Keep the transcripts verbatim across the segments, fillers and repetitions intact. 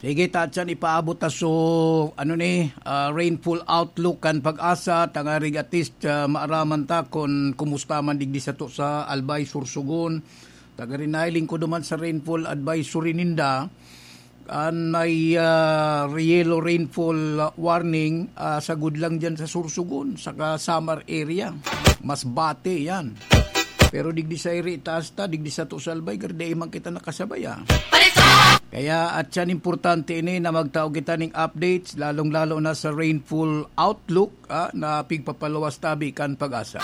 Sige, Tatsan, ipaabot ta so, ano ni, ah, rainfall outlook kan PAGASA, tangarig at least, ah, maaraman ta kun kumusta man digdi sato sa Albay, Sorsogon. Tagarinay, lingkod duman sa rainfall advisory ninda, an may, ah, yellow rainfall warning, ah, sagud lang dyan sa Sorsogon, saka Samar area. Masbate yan. Pero digdi sa iri, taas ta, digdi sato sa Albay, gari dai man kita nakasabay, ah. Kaya, at yan importante ini na magtao kita ning updates, lalong-lalo na sa rainfall outlook, ah, na pigpapaluwas tabi kan PAGASA.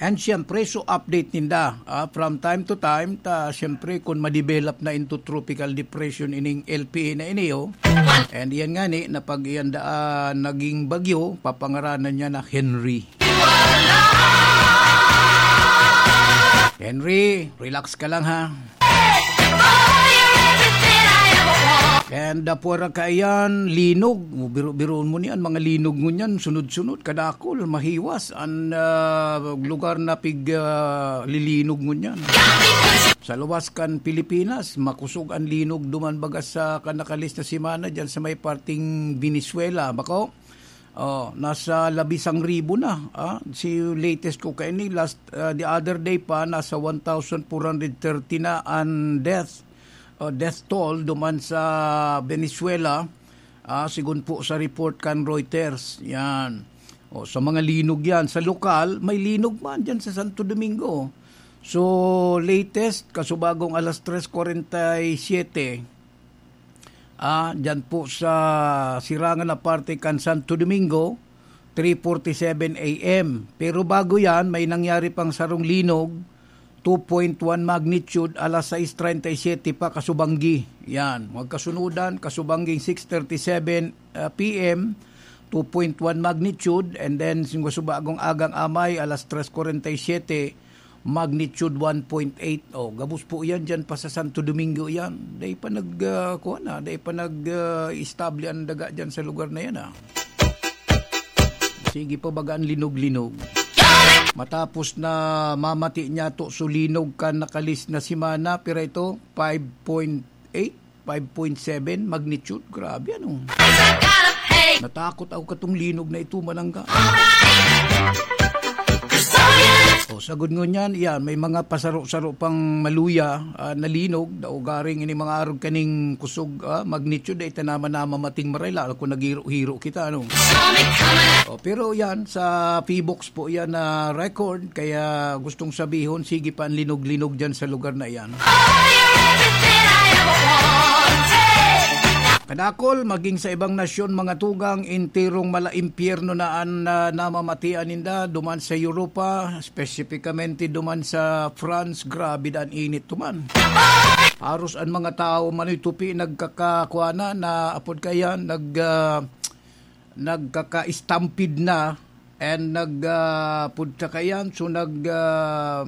And siyempre, so update ninda, ah, from time to time, ta siyempre, kung ma-develop na into tropical depression ining L P A na ini, oh. And yan nga ni, na pag iyan daan naging bagyo, papangaranan niya na Henry. Henry, relax ka lang, ha. And, ah, pwera kaiyan, linog. Biro-biroon mo niyan, mga linog ngunyan, sunod-sunod, kadakol, mahiwas. An, ah, lugar na pig, ah, lilinog ngunyan. Sa luwas kan Pilipinas, makusog an linog duman baga sa kan nakalista semana dyan sa may parting Venezuela. Bako, oh, nasa labisang ribo na, ah. Si latest ko kaini, last, ah, the other day pa, nasa one thousand four hundred thirty na an death, oh, death toll duman sa Venezuela, ah, sigon po sa report kan Reuters. Yan. Oh, sa mga linog yan. Sa lokal, may linog man dyan sa Santo Domingo. So, latest, kasubagong alas tres kwarenta y siyete, ah, dyan po sa sirangan na parte kan Santo Domingo, three forty-seven A M. Pero bago yan, may nangyari pang sarong linog, two point one magnitude, alas sais treinta y siete pa kasubanggi. Yan, magkasunodan, kasubangging six thirty-seven, ah, P M, two point one magnitude, and then, sing kasubagong agang amay, alas tres kwarenta y siyete, magnitude one point eight. Oh, gabos po yan dyan pa sa Santo Domingo yan. Dai pa nag, ah, kuwan na, dai pa nag, ah, istabli ang daga dyan sa lugar na yan, ah. Sige pa baga ang linog-linog. Matapos na mamati niya to, so linog kan nakalis na semana, pira ito? Five point eight? Five point seven magnitude. Grabe, ano? Natakot ako katong linog na ito, manangga. O, sagod ngunyan, yan, may mga pasaro-saro pang maluya, ah, na linog, daw garing ini mga arog kaning kusog, ah, magnitude, ay tanaman na mamating maray, lalo kung naghiro-hiro kita, ano? O, pero yan, sa Pbox po yan na record, kaya gustong sabihon, sige pa ang linog-linog dyan sa lugar na yan. Kadakol, maging sa ibang nasyon, mga tugang, enterong mala impyerno na an, ah, namamatian ninda, duman sa Europa, espesipikamente duman sa France, grabe da an init duman. Haros an mga tawo, manoy tupi, nagkakakuana na, apod kaya, nag, ah, nagkaka-stampede na, and nag, ah, pud ta kaiyan, so nag, ah,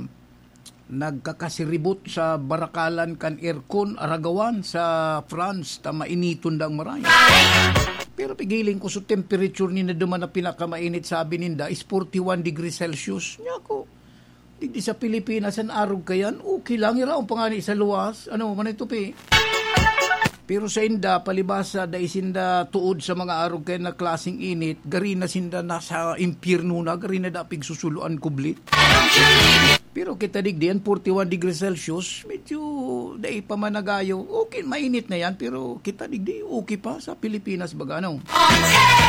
nagkakasiribot sa barakalan kan aircon, aragawan sa France, ta mainiton dang maray. Pero pigiling ko, so temperature ni na duman na pinakamainit, sabi ninda, is forty-one degrees Celsius. Niya ako, digdi sa Pilipinas, an arog kayan, okay lang, iraon pa nga ni sa luwas. Ano, manay tupi? Pero sa inda, palibasa, dai sinda tuod sa mga arog kayan na klaseng init, gari na sinda nasa impyerno na, gari na dapig susuloan kublit. Pero kita digdi, an forty-one degrees Celsius, medyo dai pa man nagayo. Okay, mainit na yan, pero kita digdi, okay pa sa Pilipinas, baga, ano?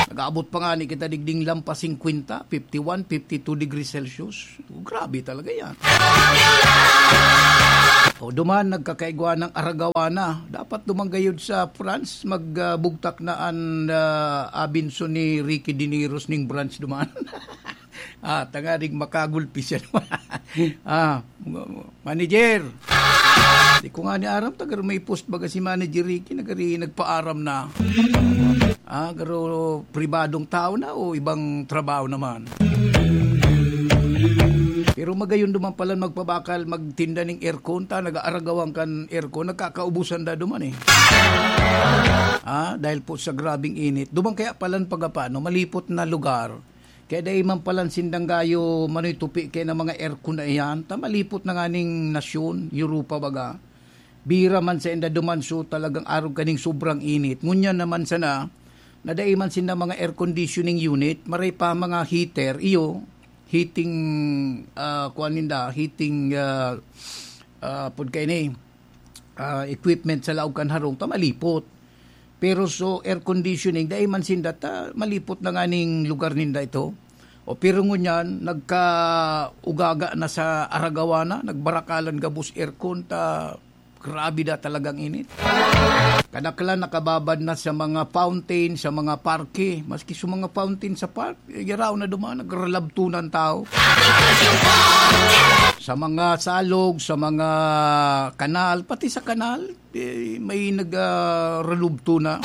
Nag-aabot pa nga ni kita digding lampas singkwenta, fifty-one, fifty-two degrees Celsius. Grabe talaga yan. O, duman, nagkakaigwa ng aragawana. Dapat duman gayud sa France, magbugtak na an, ah, abinso ni Ricky Dineros ning branch duman. Ah, tanganing makagulpi siya duman. Ah, manager. Di ko nga ni aram, taga may post baga si Manager Ricky, nagari, nagpaaram na. Ah, garo pribadong tao na o ibang trabaho naman? Pero magayon duman pala magpabakal, magtinda ning aircon, ta nag-aaragawan kan aircon, nagkakaubusan da duman eh. Ah, dahil po sa grabing init. Duman kaya palan pagapano, malipot na lugar. Kaya dai man palan sindang gayo manoy tupi kaya ng mga aircon na iyan, ta malipot na nga ning nasyon, Europa baga. Bira man sa inda duman, so talagang arog kaning sobrang init. Ngunyan naman sana, na dai man sinda mga air conditioning unit, maray pa mga heater, iyo, heating, ah, kuwan ninda, heating, ah, ah, pud kaini, ah, equipment sa laog kan harong, ta malipot. Pero so air conditioning, dai man sinda ta malipot na nga ning lugar ninda ito. O pero ngunyan, nagkaugaga na sa aragawa na, nagbarakalan gabos aircon ta grabe na talagang init. Kadaklan nakababad na sa mga fountain, sa mga parke. Maski sa mga fountain sa park, eh, giraw na duman, nagralabtunan tao. Sa mga salog, sa mga kanal, pati sa kanal, eh, may nagralubto na.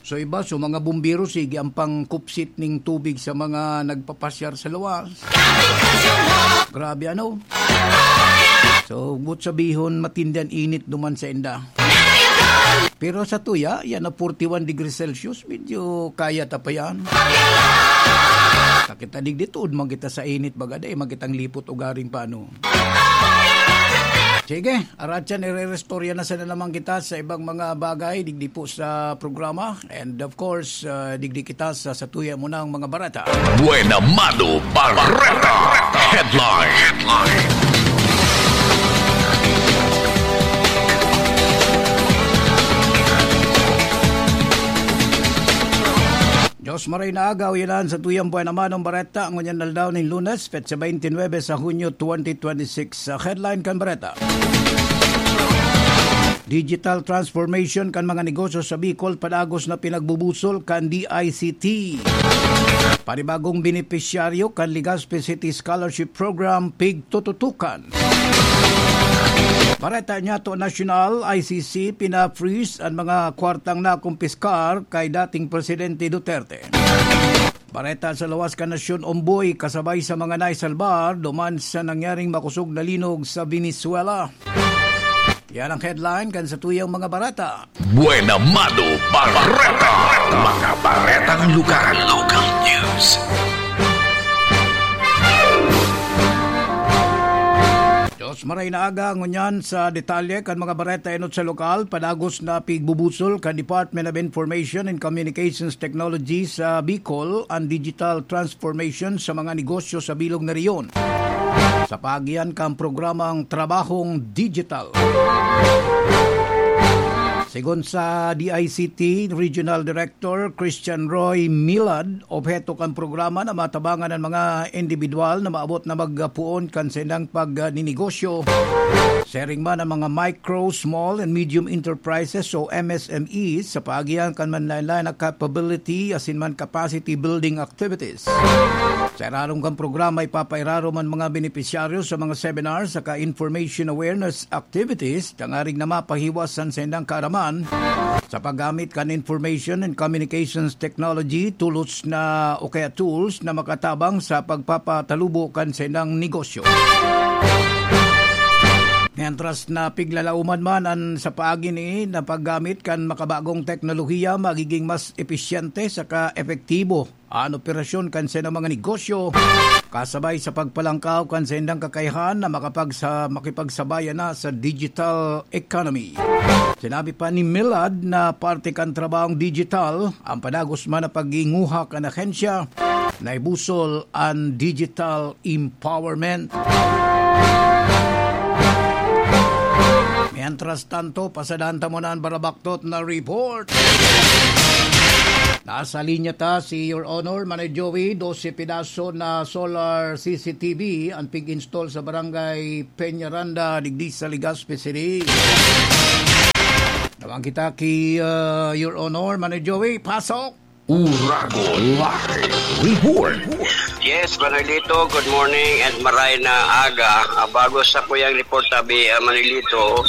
So iba, so mga bumbero, sige ang pangkupsit ning tubig sa mga nagpapasyar sa luwas. Grabe ano. So, but sabihon, matindi an init duman sa inda. Pero sa tuya, yan na forty-one degrees Celsius, medyo kaya ta pa yan. Sa kita digdi, tuod man kita sa init, baga dai man kitang lipot ugaring paano. Sige, aratyan, irerestorya na sana naman kita sa ibang mga bagay, digdi po sa programa. And of course, uh, digdi kita sa satuya mo ng mga bareta. Buena Mano Bareta Headline. Diyos maray na agaw, yan ang satuyang Buena Manong Bareta, ngunyan aldaw ning Lunes, petsa twenty-nine sa Hunyo twenty twenty-six. Sa headline kan Bareta, digital transformation kan mga negosyo sa Bicol padagos na pinagbubusol kan D I C T. Panibagong benepisyaryo kan Legazpi City Scholarship Program, pigtututukan. Bareta niya to nasyonal, I C C, pina-freeze an mga kwartang nakumpiskar kay dating Presidente Duterte. Bareta sa lawas kan nasyon, Omboy, kasabay sa mga naisalbar duman sa nangyaring makosog na linog sa Venezuela. Yan ang headline kan satuyang mga bareta. Buena Mano Bareta. Mga baretang lugar. Local news. Diyos maray na aga, ngunyan sa detalye kan mga bareta enot sa lokal, padagos na pigbubusol kan Department of Information and Communications Technology sa Bicol ang digital transformation sa mga negosyo sa bilog na rehiyon. Sa paagi kan programang Trabahong Digital. Segun sa D I C T Regional Director Christian Roy Milad, obheto kan programa na matabangan an mga indibidwal na maabot na magpoon kan saindang pagninegosyo. Siring man an mga micro, small and medium enterprises o M S M Es sa paagi kan manlaen-laen na capability asin man capacity building activities. Sa irarom kan programa, ipapairarom an mga benepisyaryo sa mga seminar saka information awareness activities tangarig na mapahiwas an saindang kaaraman sa paggamit kan Information and Communications Technology, tulos na o kaya tools na makatabang sa pagpapatalubo kan saindang negosyo. Mientras na piglalauman man an sa paagi ni na paggamit kan makabagong teknolohiya, magiging mas episyente saka epektibo an operasyon kan saindang mga negosyo, kasabay sa pagpalangkaw kan saindang kakayahan na makapagsa-, makipagsabayan na sa digital economy. Sinabi pa ni Milad na parte kan trabahong digital ang padagos man na paghinguha kan ahensya na ibusol an digital empowerment. Mientras tanto, pasadahan ta muna an barabaktot na report. Nasa linya ta si Your Honor, Manay Joey, dose pedaso na solar C C T V an pig-install sa Barangay Peñaranda, digdi sa Legazpi City. Naman kita ki, uh, Your Honor, Manay Joey, pasok! Uragon Live Report. Yes, Manolito, good morning and maray na aga. Ah, bago sa kuyang report, tabi, ah, Manolito,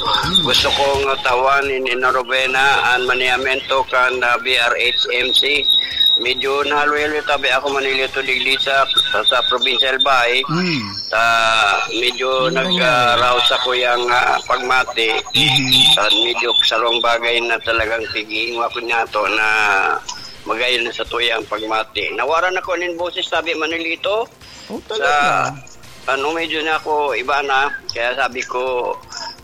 gusto kong tawan in, in novena an manehamento kan, ah, B R H M C. Medyo nahaloy-haloy tabi ako, Manolito, digdi sa, sa, sa provincial bay. Mm. Ta, medyo Ano nag, nangyari? Ah, raos sa kuyang, ah, pagmati. Mhm. Ta, medyo sarong bagay na talagang tiging ako niya to na magayon na sa tuyang pagmati. Nawaran ako nin boses, sabi Manolito. Oh, talaga? Sa, ano, medyo na ako iba na. Kaya sabi ko,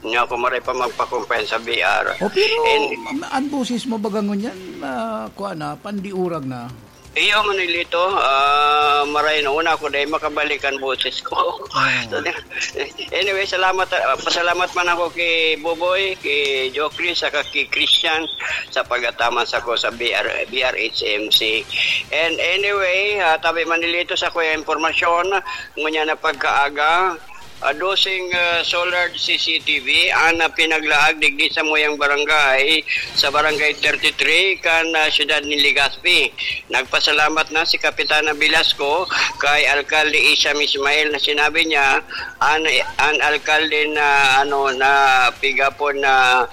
Nga ako maray pa magpakumpay sa B R. O, pero And ma-, ang boses mo baga ngunyan, ah, kuha na, pandiurag na. Iyo, Manilito, ah, maray na una ako dahil makabalik ang boses ko. Ah. So, anyway, salamat, ah, pasalamat man ako kay Boboy, kay Jokri, saka kay Christian sa pagataman sa ko sa B R, B R H M C. And anyway, ah, tabi Manilito sa kuya impormasyon, ngunya na pagkaaga, ah, dosing, ah, solar C C T V an, ah, pinaglaag digdi sa muyang barangay, sa Barangay thirty-three kan, ah, siyudad ni Legazpi. Nagpasalamat na si Kapitana Velasco kay Alkalde Isham Ismail na sinabi niya, an, an alkalde na, ano, na pigapon na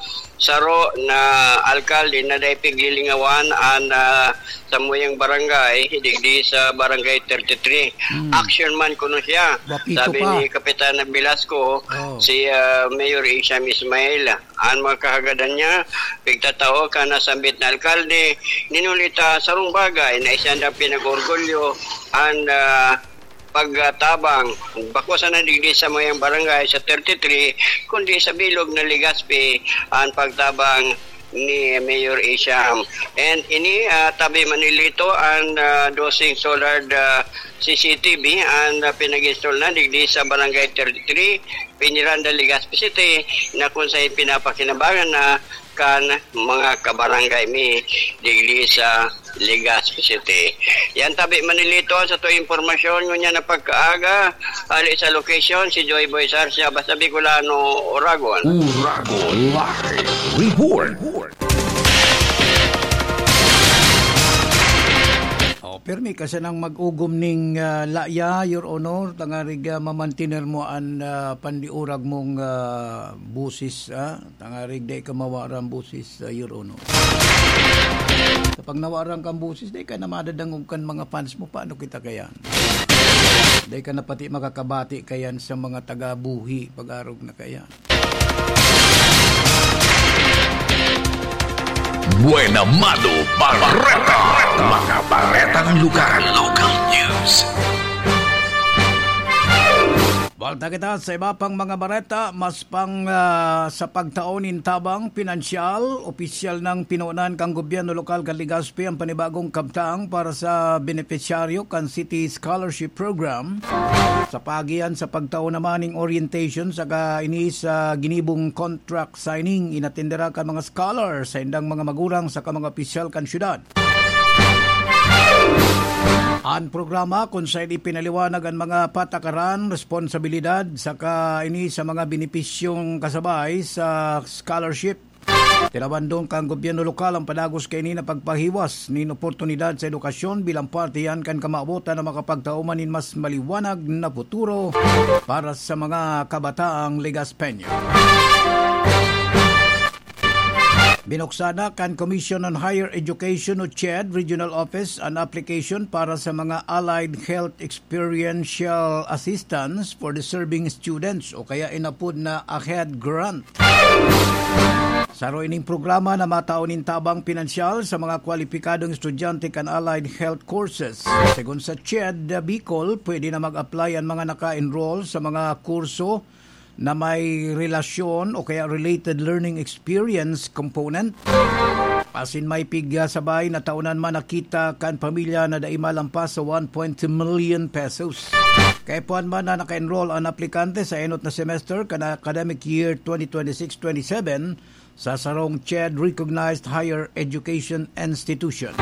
saro na alkalde na dai piglilingawan an, ah, samuyang barangay, digdi sa Barangay thirty-three. Hmm. Action man kuno siya, Wapito sabi pa. ni Kapitana Velasco, Oh. si, ah, Mayor Isham Ismail. An mga kahagadan niya, pigtatao kan nasambit na alkalde, ninulita sarong bagay na isandang pinag-orgulyo an, ah, pagtabang, bako sana digdi sa mayang barangay sa thirty-three, kundi sa bilog na Legazpi an pagtabang ni Mayor Isham. And ini, ah, tabi Manilito an, ah, dosing solar, ah, C C T V an, ah, pinag-install na digdi sa Barangay thirty-three, Peñaranda, Legazpi City, na kung saan pinapakinabangan na kan mga kabarangay mi digdi sa Legazpi City. Yan tabi Manilito sa to impormasyon ngunyan na pagkaaga, ali sa location si Joy Boy Sarsia, basta Bicolano, Oragon. Oragon Live Report. Oh, pirmi ka sanang mag-ugom ning, ah, laya, Your Honor, tangarig, ah, mamantiner mo an, ah, pandiurag mong, ah, busis, ah. Tangarig dai ka mawaran busis, ah, Your Honor. Sa pag nawaran kang busis, dai ka na madadangog kan mga fans mo. Paano kita kaya? Dai ka na pati makakabati kayan sa mga taga-buhi, pag-arog na kaya. Buena Mano Bareta. Mga baretang lugar. Local news. Balta kita sa iba pang mga bareta, mas pang, ah, sa pagtao nin tabang pinansyal, opisyal nang pinunan kan gobyerno lokal kan Legazpi ang panibagong kabtang para sa benepisyaryo kan City Scholarship Program. Sa paagi yan sa pagtao naman ning orientation saka ini sa ginibong contract signing, inatindera kan mga scholar sa indang mga magurang saka mga opisyal kan syudad. An programa kun saen ipinaliwanag an mga patakaran, responsibilidad, saka ini sa mga benepisyong kasabay sa scholarship. Tinabandong kan gobyerno lokal ang padagos kaini na pagpahiwas nin oportunidad sa edukasyon bilang parte yan kan kamawotan na makapagtao man nin mas maliwanag na futuro para sa mga kabataang Legazpeño. Binuksan na kan Commission on Higher Education o CHED Regional Office an application para sa mga Allied Health Experiential Assistance for Deserving Students o kaya inapod na AHED Grant. Saro ining programa na matao nin tabang pinansyal sa mga kwalipikadong estudyante kan allied health courses. Segun sa CHED Bicol, pwede na mag-apply an mga naka-enroll sa mga kurso na may relasyon o kaya related learning experience component. Asin may pigya sabay na taonan man nakita kan pamilya na dai malampas sa one point two million pesos. Kaipuhan man na naka-enroll an aplikante sa enot na semester kan academic year twenty twenty-six twenty-seven sa sarong CHED recognized higher education institution.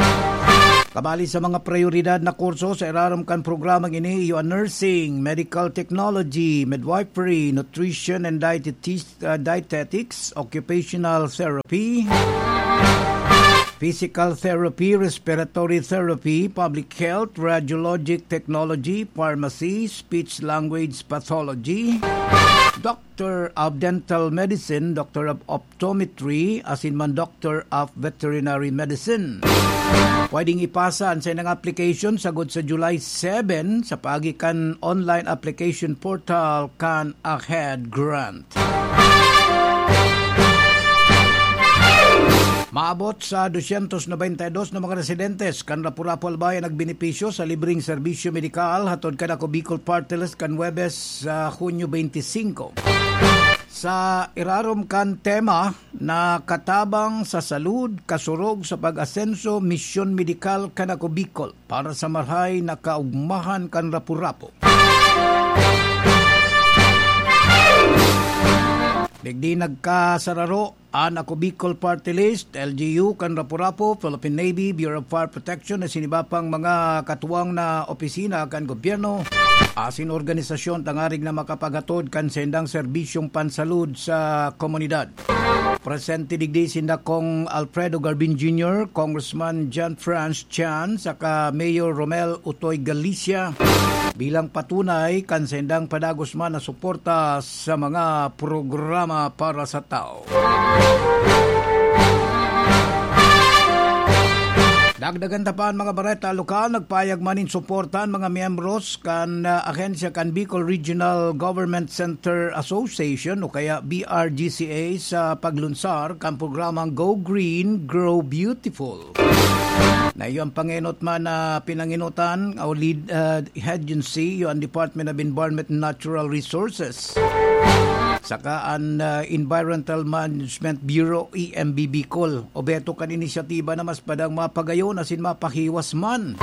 Kabali sa mga prioridad na kurso sa irarom kan programang ini, iyo an nursing, medical technology, midwifery, nutrition and dietetis-, uh, dietetics, occupational therapy, physical therapy, respiratory therapy, public health, radiologic technology, pharmacy, speech language pathology, Doctor of Dental Medicine, Doctor of Optometry, asin man Doctor of Veterinary Medicine. Pwedeng ipasa an saindang application sagkod sa July seven sa paagi kan online application portal kan AHED Grant. Maabot sa dosyentos nobenta y dos na mga residentes kan Rapu-Rapu Albay an nagbenepisyo sa libreng serbisyo medikal hatod kan Ako Bicol Party List kan Huwebes sa Hunyo twenty-five. Sa irarom kan tema na katabang sa salud, kasurog sa pag-asenso, misyon medikal kan Ako Bicol para sa marahay na kaugmahan kan Rapu-Rapu. Digdi nagkasararo an Ako Bicol Party List, L G U, kan Rapu-Rapu, Philippine Navy, Bureau of Fire Protection, asin iba pang mga katuwang na opisina kan gobyerno asin organisasyon tangarig na makapaghatod kan saindang serbisyong pansalud sa komunidad. Presente digdi sinda Cong Alfredo Garbin Junior, Congressman John Franz Chan, saka Mayor Romel Utoy Galicia bilang patunay kan saindang padagos man na suporta sa mga programa para sa tao. Dagdagan ta pa an mga bareta lokal. Nagpayag man nin suporta an mga miyembros kan, ah, ahensya kan Bicol Regional Government Center Association o kaya B R G C A sa paglunsar kan programang Go Green, Grow Beautiful. Na iyo ang pangenot man na pinanginutan o lead, ah, agency, iyo ang Department of Environment and Natural Resources, saka an, ah, Environmental Management Bureau, E M B Bicol. Obheto kan inisyatiba na mas padang mapagayon asin mapahiwas man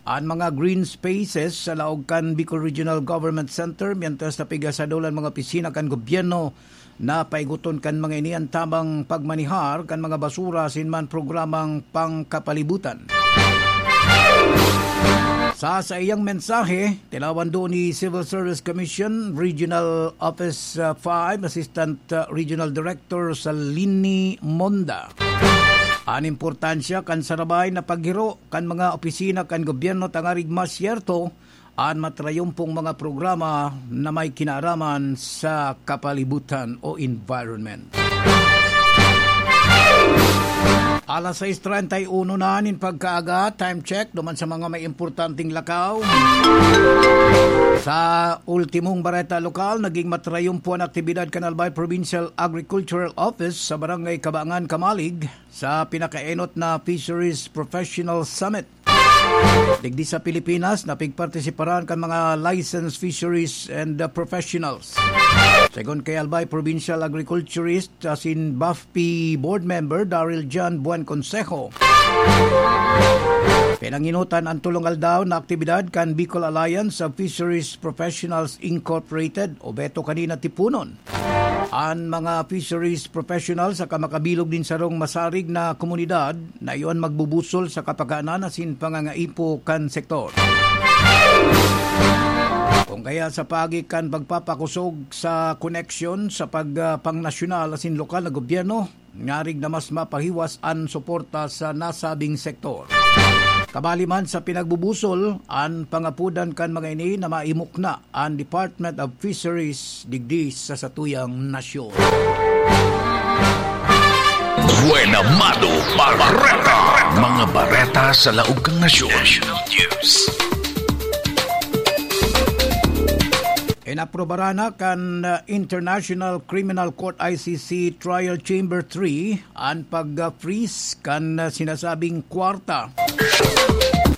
an mga green spaces sa laog kan Bicol Regional Government Center, mientras na pigasadol an mga opisina kan gobyerno na paigoton kan mga ini an tamang pagmanihar kan mga basura asin man programang pangkapalibutan. Sa saiyang mensahe, tinawan duon ni Civil Service Commission Regional Office, uh, five Assistant, uh, Regional Director Salini Monda an importansya kan sarabay na paghiro kan mga opisina kan gobyerno tangarig masyerto an matrayumpong mga programa na may kinaaraman sa kapalibutan o environment. Alas sais treinta y uno na nin pagkaaga, time check, duman sa mga may importanteng lakaw. Sa ultimong bareta lokal, naging matrayumpo an aktibidad kan Albay Provincial Agricultural Office sa Barangay Kabangan, Camalig, sa pinakaenot na Fisheries Professional Summit. Digdi sa Pilipinas, napigpartisiparan kan mga licensed fisheries and, uh, professionals. Segun kay Albay Provincial Agriculturist asin BAFPI Board Member Daryl John Buen Consejo, pinanginutan an tolong aldaw na aktibidad kan Bicol Alliance of Fisheries Professionals Incorporated, obheto kanina tipunon an mga fisheries professionals saka makabilog nin sarong masarig na komunidad na iyo an magbubusol sa kapakanan asin pangangaipo kan sektor. Kung kaya sa paagi kan pagpapakosog sa koneksyon sa pag, ah, pangnasyonal asin lokal na gobyerno, ngarig na mas mapahiwas an suporta sa nasabing sektor. Kabali man sa pinagbubusol, an pangapodan kan mga ini na maimukna an Department of Fisheries digdi sa satuyang nasyon. Buena Mano Bareta. Mga bareta sa laog kan nasyon. National News. Inaprubaran na kan, uh, International Criminal Court, I C C, Trial Chamber three an pag-freeze kan, uh, sinasabing kwarta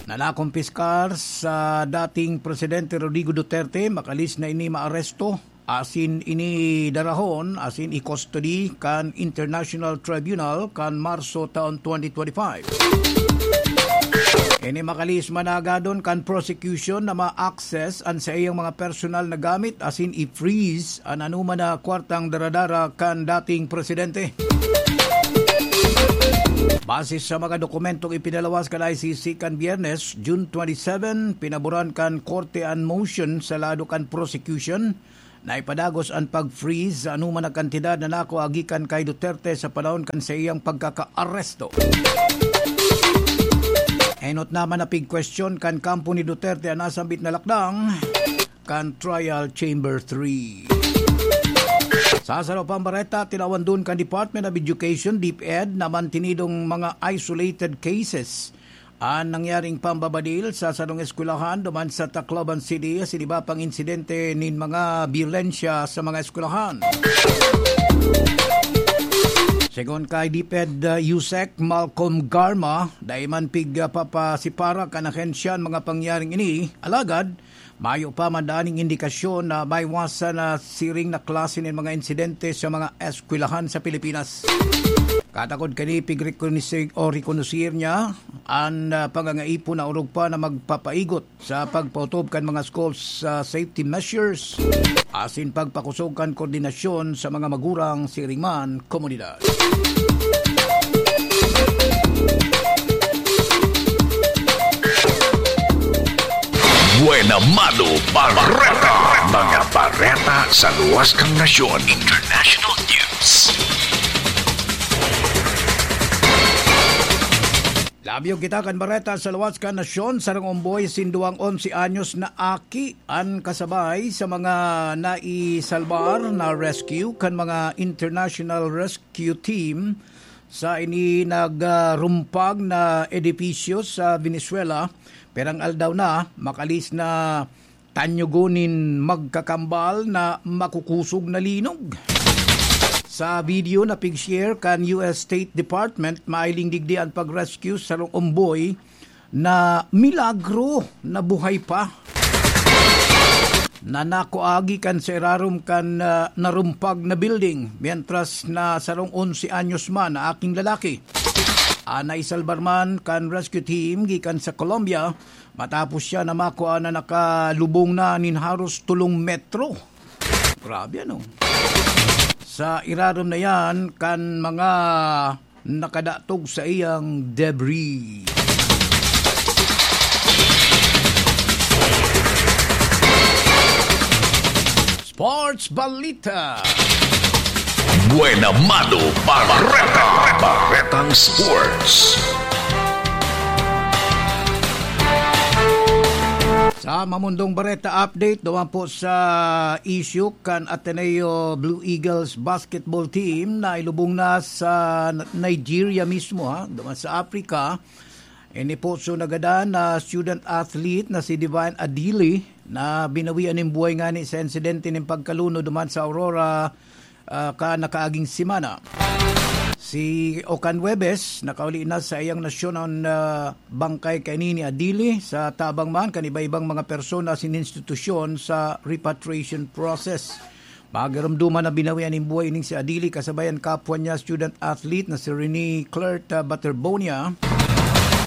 na nakumpiskar sa dating Presidente Rodrigo Duterte. Makalis na ini maaresto asin ini darahon asin i-custody kan International Tribunal kan Marso taon twenty twenty-five. Ini makalis managadon kan prosecution na ma-access an saiyang mga personal na gamit asin i-freeze an anoman na kwartang daradara kan dating presidente. Base sa mga dokumentong ipinalawas kan I C C kan Biyernes, June twenty-seven, pinaboran kan korte an motion sa lado kan prosecution na ipadagos an pag-freeze sa anoman na kantidad na nakua gikan kay Duterte sa panahon kan saiyang pagkakaaresto. Enot naman na pigkwestiyon kan kampo ni Duterte an nasambit na lakdang kan Trial Chamber three. Sa saro pang bareta, tinawan dun kan Department of Education, DepEd, na mantinidong mga isolated cases an nangyaring pambabadil sa sarong eskwelahan duman sa Tacloban City asin iba pang insidente nin mga byolensya sa mga eskwelahan. Segun kay DepEd, uh, USEC Malcolm Garma, dai man pig, uh, papasiparak an ahensya an mga pangyaring ini, alagad Mayo pa man daning indikasyon na maiwasan na siring na klase nin mga insidente sa mga eskwelahan sa Pilipinas. Katakod kani, pigrekonosi-, o rekonosir niya an, ah, pangangaipon na orog pa na magpapaigot sa pagpaotob kan mga schools sa safety measures asin pagpakosog kan koordinasyon sa mga magurang siring man komunidad. Buena Mano Bareta. Mga bareta sa luwas kan nasyon. International news. Labyog kita kan bareta sa luwas kan nasyon. Sarong omboy sinduang onse anyos na aki an kasabay sa mga naisalbar na rescue kan mga international rescue team sa ini nagrumpag na edipisyo sa Venezuela. Pirang aldaw na, makalis na tanyugon nin magkakambal na makukusog na linog. Sa video na pig-share kan U S State Department, mahiling digdi an pag-rescue sa sarong omboy na milagro na buhay pa, na nakuagi kan sa irarom kan, ah, narumpag na building, mientras na sarong onse anyos man na aking lalaki. Ah, naisalbar man kan rescue team gikan sa Colombia, matapos siya na makua na nakalubong na nin haros tolong metro. Grabe, ano? Sa irarom na yan, kan mga nakadatog sa iyang debris. Sports Balita. Buena Mano Bareta. Baretang Sports. Sa Mamundong Bareta Update, duman po sa issue kan Ateneo Blue Eagles basketball team na ilubong na sa Nigeria mismo, ha, duman sa Africa. Ini po so nagadan na student athlete na si Divine Adili na binawian nin buhay ngani sa insidente nin pagkalunod duman sa Aurora, ah, ka nakaaging semana. Si Okan Webes, nakauli na sa iyang nasyon an, ah, bangkay kaini ni Adili sa tabang man kan iba-ibang mga persona asin institusyon sa repatriation process. Magiromdoman na binawian nin buhay ining si Adili kasabay an kapwa niya student athlete na si Rene Clerta Baterbonia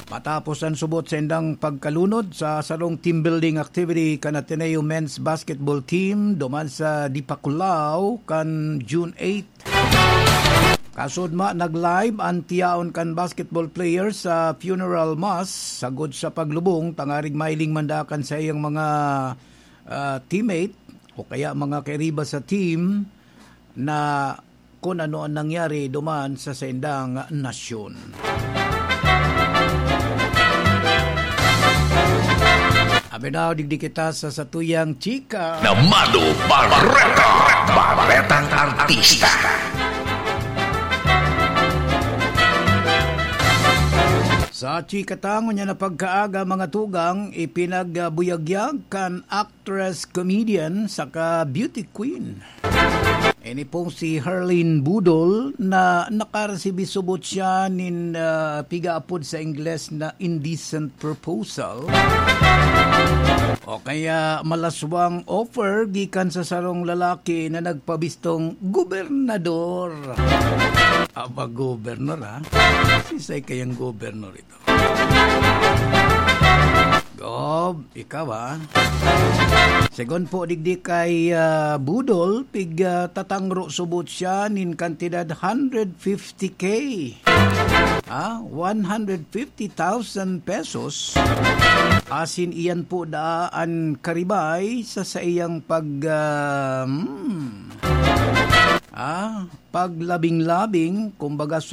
matapos an subot sa indang pagkalunod sa sarong team building activity kan Ateneo men's basketball team duman sa Dipaculao kan June eight. Kasudma, nag-live an tiyaon kan basketball player sa funeral mass sagod sa paglubong, tangarig mahiling man daa kan saiyang mga, ah, teammate o kaya mga kairiba sa team na kun ano an nangyari duman sa saindang nasyon. Abi na, digdi kita sa satuyang chika. Namano Bareta, Baretang Artista. Sa chika ta ngunyan na pagkaaga, mga tugang, ipinagbuyagyag kan actress, comedian, saka beauty queen. Ini pong si Herlin Budol na nakaresibi subot siya nin, ah, pigaapod sa Ingles na indecent proposal o kaya malaswang offer gikan sa sarong lalaki na nagpabistong gobernador. Aba, gobernador, ha? Sisay kayang gobernador ito? Gob, ikaw, ah. Segun po digdi kay, ah, Budol, pig, ah, tatangro subot siya nin kantidad hundred fifty K. Ah, one hundred fifty thousand pesos. Asin iyan po daa an karibay sa saiyang pag, ah, hmm, ah, paglabing-labing, kumbaga, su-,